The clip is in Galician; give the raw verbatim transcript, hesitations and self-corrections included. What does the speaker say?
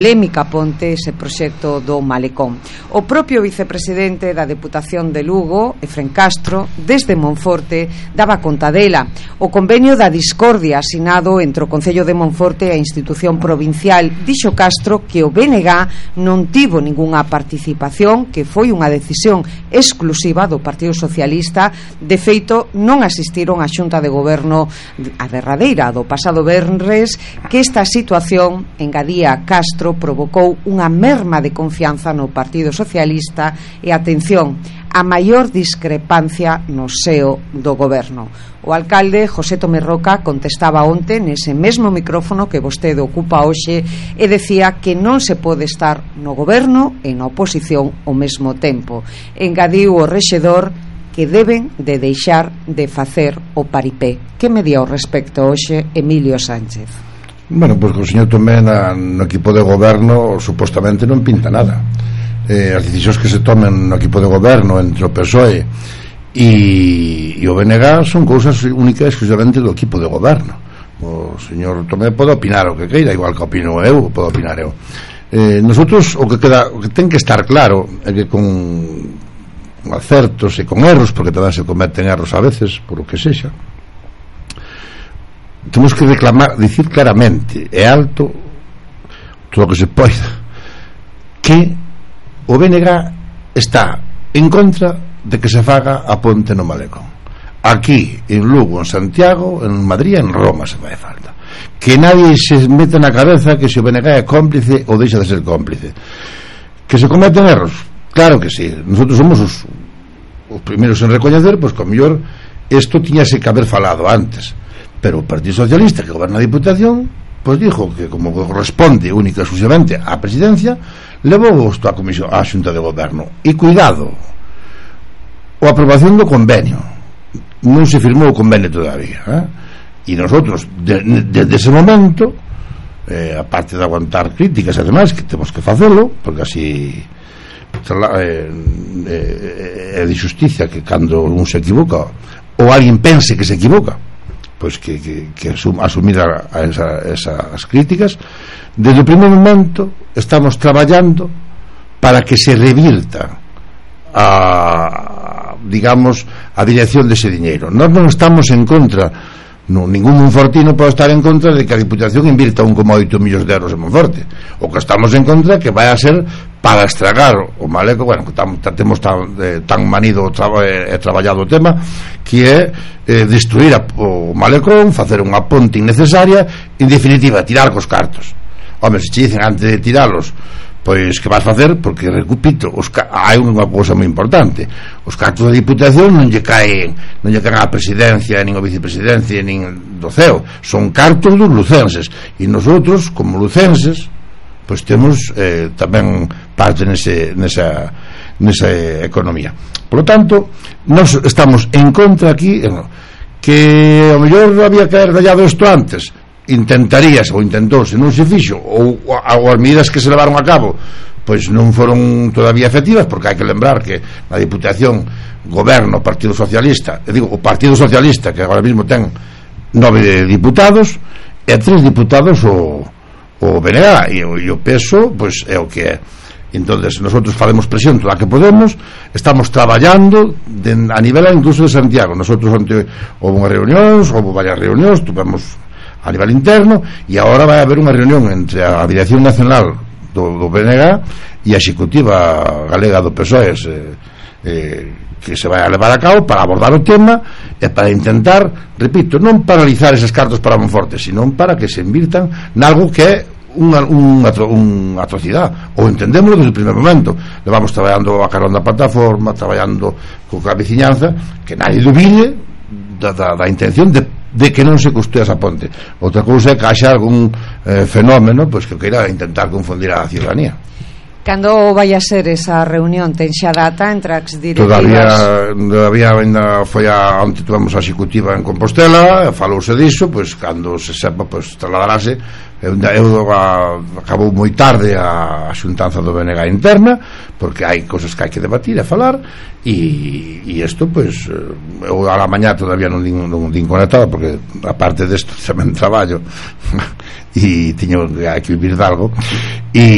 polémica ponte ese proxecto do Malecón. O propio vicepresidente da Deputación de Lugo, Efrén Castro, desde Monforte, daba conta dela. O convenio da discordia asinado entre o Concello de Monforte e a institución provincial. Dixo Castro que o B N G non tivo ningunha participación, que foi unha decisión exclusiva do Partido Socialista. De feito, non asistiron á Xunta de Goberno a derradeira do pasado venres, que esta situación, engadía Castro, provocou unha merma de confianza no Partido Socialista e, atención, a maior discrepancia no seo do goberno. O alcalde José Tomé Roca contestaba onte nese mesmo micrófono que vostede ocupa hoxe e decía que non se pode estar no goberno e na oposición ao mesmo tempo. Engadiu o rexedor que deben de deixar de facer o paripé. Que me di ao respecto hoxe Emilio Sánchez? Bueno, pois pues, o señor Tomé na, no equipo de goberno supostamente non pinta nada. Eh, as decisións que se tomen no equipo de goberno entre o P S O E e, e o B N G son cousas únicas exclusivamente do equipo de goberno. O señor Tomé pode opinar o que queira, igual que opino eu, pode opinar eu. Eh, nosotros o que queda, o que ten que estar claro é que con acertos e con erros, porque tamén se cometen erros a veces, por o que sexa, temos que reclamar, dicir claramente e alto todo o que se poida que o B N G está en contra de que se faga a ponte no Malecón, aquí en Lugo, en Santiago, en Madrid, en Roma, se fai falta. Que nadie se meta na cabeza que se o B N G é cómplice ou deixa de ser cómplice. Que se cometen erros, claro que sí. Nosotros somos os, os primeiros en recoñecer, pois que o mellor isto tiñase que haber falado antes. Pero o Partido Socialista, que goberna a Diputación, pois dijo que como corresponde única e exclusivamente á presidencia, levou isto á comisión, á Xunta de Goberno. E cuidado, a aprobación do convenio non se firmou o convenio todavía, eh? E nosotros desde de, de ese momento, eh, aparte de aguantar críticas e demais, que temos que facelo, porque así é eh, eh, de xusticia que cando un se equivoca ou alguén pense que se equivoca, pois que, que, que asum, asumir a, a esa, esas críticas. Desde o primer momento estamos traballando para que se revirta a, digamos, a dirección dese diñeiro. Nós non estamos en contra, no, ningún monfortino pode estar en contra de que a Diputación invirta un coma oito millóns de euros en Monforte. O que estamos en contra é que vai a ser para estragar o Malecón. Bueno, que tam, temos tan, eh, tan manido e tra, eh, traballado o tema, que é eh, destruir a, o Malecón, facer unha ponte innecesaria, en definitiva, tirar cos cartos. Home, se che dicen antes de tiralos, pois que vas facer, porque, repito, os, hai unha cousa moi importante: os cartos da Diputación non lle caen non lle caen á presidencia, nin a vicepresidencia, nin do C E O, son cartos dos lucenses, e nosotros, como lucenses, pois temos eh, tamén parte nese, nesa, nesa economía. Por lo tanto, nós estamos en contra aquí, que ao mellor había que haber dallado isto antes. Intentaríase, ou intentouse, non se fixo, ou, ou as medidas que se levaron a cabo pois non foron todavía efectivas, porque hai que lembrar que na Diputación goberna o Partido Socialista, e digo, o Partido Socialista, que agora mesmo ten nove diputados, e tres diputados o, o B N G, e o, e o peso pois é o que é. Entonces nosotros facemos presión toda a que podemos, estamos traballando de, a nivel incluso de Santiago. Nosotros onte houve unhas reunións, houve varias reunións, tuvemos a nivel interno, e agora vai haber unha reunión entre a Dirección Nacional do, do B N G e a Executiva Galega do P S O E, eh, eh, que se vai a levar a cabo para abordar o tema e para intentar, repito, non paralizar eses cartos para Monforte, sino para que se invirtan nalgo que é unha, unha, unha atrocidade. O entendemos desde o primer momento. Levamos traballando a carón da plataforma, traballando coa veciñanza, que nadie dubide da, da, da intención de de que non se costúe esa ponte. Outra cousa é que haxa algún eh, fenómeno pois que queira intentar confundir a ciudadanía. Cando vai a ser esa reunión? Ten xa data entre as directivas? Todavía, todavía ainda foi a, onde tuvemos a executiva en Compostela, falouse diso, pois cando se sepa, pois trasladarase. Eu, eu a, acabou moi tarde a, a xuntanza do B N G interna, porque hai cosas que hai que debatir e falar, e, e isto, pois eu a la mañá todavía non din, non din conectado, porque aparte desto tamén traballo e tiño hai que vivir de algo, e